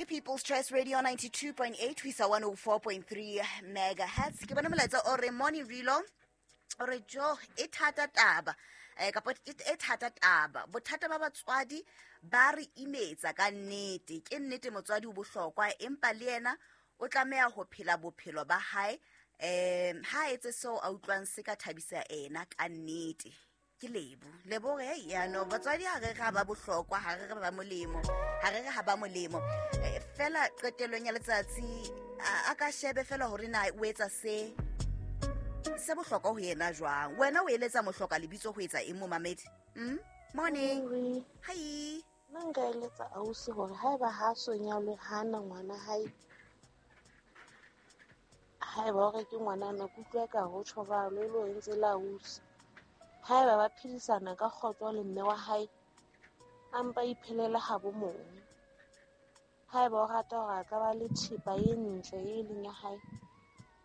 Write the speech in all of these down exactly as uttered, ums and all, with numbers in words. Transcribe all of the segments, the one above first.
Ke People's Choice Radio ninety-two point eight ho isa one oh four point three megahertz. Ke bona molaetsa o re morning Rilo, o re jo e thata taba. Eh, kapa e thata taba. Bothata ba batswadi ba re imetsa ka nnete. Ke nnete motswadi o bohlokwa, empa le yena o tlameha ho phela bophelo ba hae. Um ha etse seo a utlwang se ka thabisa ena ka nnete. Ke Lebo. Lebo re ya no batswadi ha re ga ba bohlokwa, ha re re ba molemo, ha re re ha ba molemo. Fela qetellong ya letsatsi a ka shebe fela hore na o etsa se se bohlokwa ho yena jwang. Wena o eletsa mohloka lebitso ho etsa eng momamedi? Mm? Morning. Hi. Nna nka eletsa ausi hore haeba ha so nyalwe hana ngwana hae, haeba hore ke ngwana na kutlwa ka ho tjho ba lo lo entse la ausi. Haeba ba phedisana ka kgotso le mme wa hae, a mpa iphelela ha bo mong. Haeba o rata hore a ka ba le thepa e ntle e leng ya hae,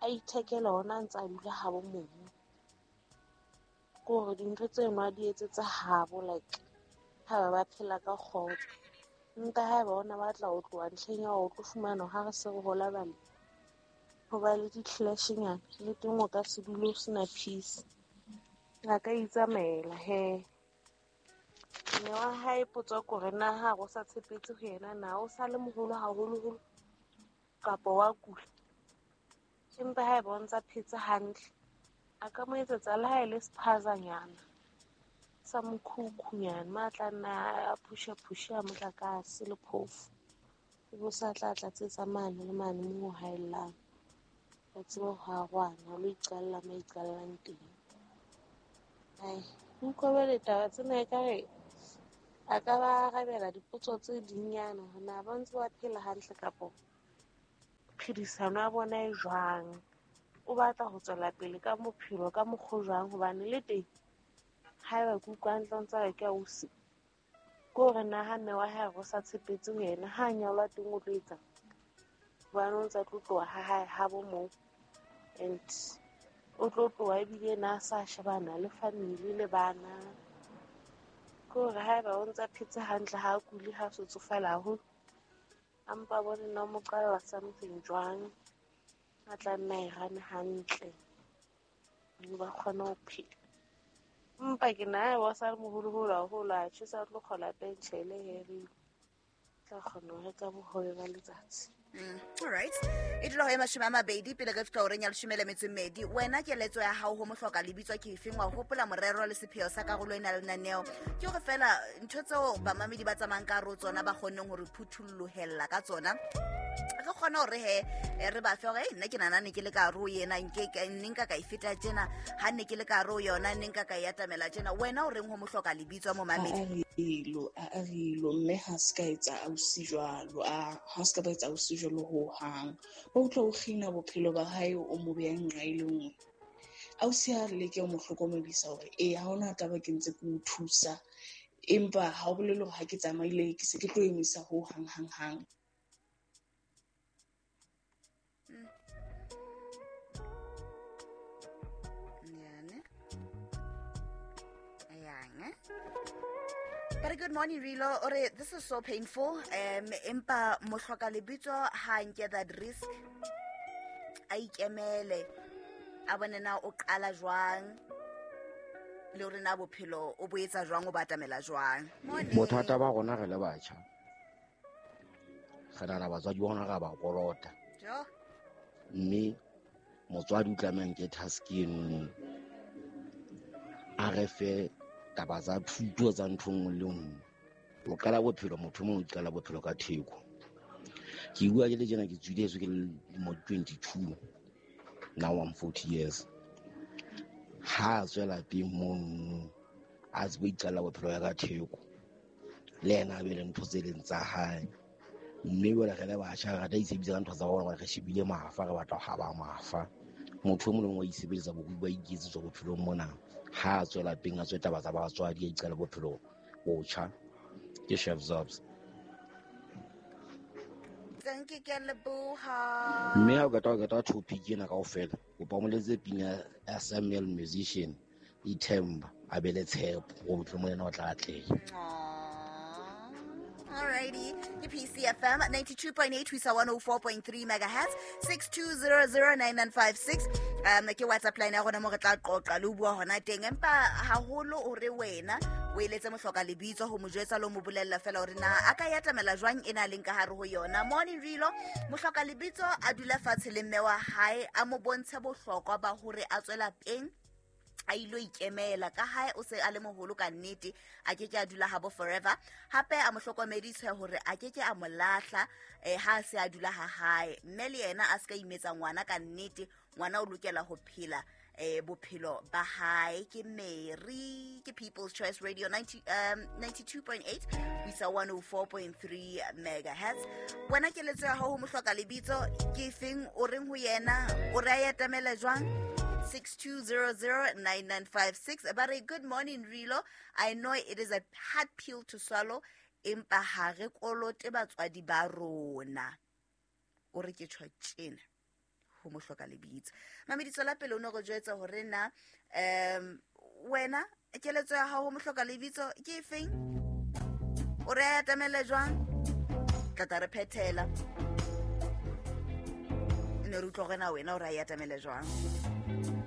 a ithekele hona a ntse a dula ha bo mong. Ke hore dintho tseno a di etsetsa habo, like haeba ba phela ka kgotso. Nka haeba ona batla ho tloha ntlheng ya hore o tlo fumana ha re se re hola bale, ho ba le di-clash-nyana, le teng o ka se dule o sena peace. A ka itsamaela he. Mme wa hae potso ke hore na ha o sa tshepetse ho yena na o sa le moholo haholoholo kapa wa kula. Empa haeba o ntsa phetse hantle, a ka mo etsetsa le ha e le sephazanyana sa mokhukhunyana, ma tla nna a phusha-phusha a motlakase le phofo. Ebe o sa tla tlatsetsa mane le mane moo ho haellang. Ba tsebe ho arohana, o lo iqalla mo iqallang teng. Ai, utlwa le taba tsena ekare a ka ba arabela dipotso tse dinyana hore na ba ntse ba phela hantle kapo phedisano ya bona e jwang. O batla ho tswela pele ka bophelo ka mokgwa jwang, hobane le teng haeba ke utlwa hantle o ntsa re ke ausi, ke hore na ha mme wa hae o sa tshepetse ho yena, ha a nyalwa teng o tlo etsang? Hobane o ntsa tlo tloha ha hae ha bo moo, and o tlo tloha ebile na a sa shebana le family le bana. Ke hore haeba o ntsa phetse hantle, ha a kule, ha so tsofala haholo, a mpa bone na o mo qalla something jwang, a tla nna e rane hantle, ba kgone ho phela. Empa ke na haeba o sa le moholoholo haholo, a tjhe sa tlo kgola pentjhele he re tla kgona ho reka bohobe ba letsatsi. Mm, all right. E dula ho e mashome a mabedi pele re fihla horeng ya leshome le metso e mmedi. Wena keletso ya hao ho mohloka lebitso ke efeng? Wa hopola morero le sepheo sa karolo ena le lenaneo? Ke hore fela ntho tseo bamamedi ba tsamayang ka hare ho tsona ba kgonneng hore phuthollohella ka tsona, re kgone hore he re ba fe hore nna ke nahana ne ke le ka hare ho ena, nke nne nka ka e feta tjena, ha ne ke le ka hare ho yona nne nka ka e atamela tjena. Wena o reng ho mohloka lebitso momamedi? A rilo, a rilo, mme ha se ka etsa ausi jwalo, a ha se ka ba etsa ausi jwalo ho hang. Ba utlwa o kgina bophelo ba hae o mo beha nqa e le nngwe. Ausi ha re leke ho mo hlokomedisa hore ee ha hona taba ke ntse ke o thusa, empa ha o bolele hore ha ke tsamaile ke se ke tlo emisa ho hang hang hang. But good morning, Rilo. Ore, this is so painful. Um, empa mohloka lebitso ha nke that risk. A ikemele. A bone na o qala jwang. Le hore na bophelo o bo etsa jwang, o batamela jwang. Morning. Bothata ba rona re le batjha. Re nahana batswadi ba rona ra ba kolota. Jo. Mme motswadi o tlameha nke task eno. A re fe taba tsa thuto tsa ntho nngwe le nngwe. O qala bophelo, motho mong o qala bophelo ka theko. Ke bua ke le tjena ke tswile heso ke le lemo twenty-two, now I'm forty years. Ha a tswela pele mono, a tsebe ho iqalla bophelo ya ka theko. Le yena a be le ntho tse leng tsa hae. Mme jwale re le batjha re rata ho itshebetsa ka ntho tsa rona, re shebile mafa, re batla ho haba mafa. Motho e mong le mong wa itshebetsa bokubi ba iketsetswa bophelong mona. Ha a tswela pele a tswe taba tsa batswadi, a iqale bophelo botjha. Ke Chef Zobs. Thank you, ke leboha. Mme ha o qeta ho qeta topic ena kaofela, kopa o mo letse pina ya Samuel Musician, Ithemba, a be le tshepo hore bophelo mona o tla atleha. All right. Alrighty, ke P C F M ninety-two point eight ho isa one oh four point three megahertz, six two zero zero nine nine five six um ke WhatsApp line ya rona mo re tla qoqa le ho bua hona teng. Empa haholo o re wena o eletse mohloka lebitso ho mo jwetsa le ho mo bolella fela hore na a ka e atamela jwang e na leng ka hare ho yona. Morning Rilo, mohloka lebitso a dula fatshe le mme wa hae, a mo bontshe bohlokwa ba hore a tswela peng a ilo ikemela ka hae, o se a le moholo ka nnete, a ke ke a dula habo forever. Hape a mo hlokomedise hore a ke ke a mo lahla eh, ha a se a dula ha hae, mme le yena a se ka imetsa ngwana ka nnete. Ngwana o lokela ho phela eh, bophelo ba hae. Ke Mary, ke People's Choice Radio ninety, um, ninety-two point eight ho isa one oh four point three megahertz. Wena, keletso ya hao ho mohloka lebitso ke efeng? O reng ho yena? O re a etamele jwang? six two zero zero nine nine five six. Ba re, good morning Rilo, I know it is a hard pill to swallow, empa ha re kolote batswadi ba rona. O re ke tjho tjena ho mohloka lebitso. Mameditso la pele o ne re jwetsa hore na um wena keletso ya hao ho mohloka lebitso ke efeng? O re a atamele jwang? Tla tla re phethela, ne re utlwa hore na wena o re a atamele jwang.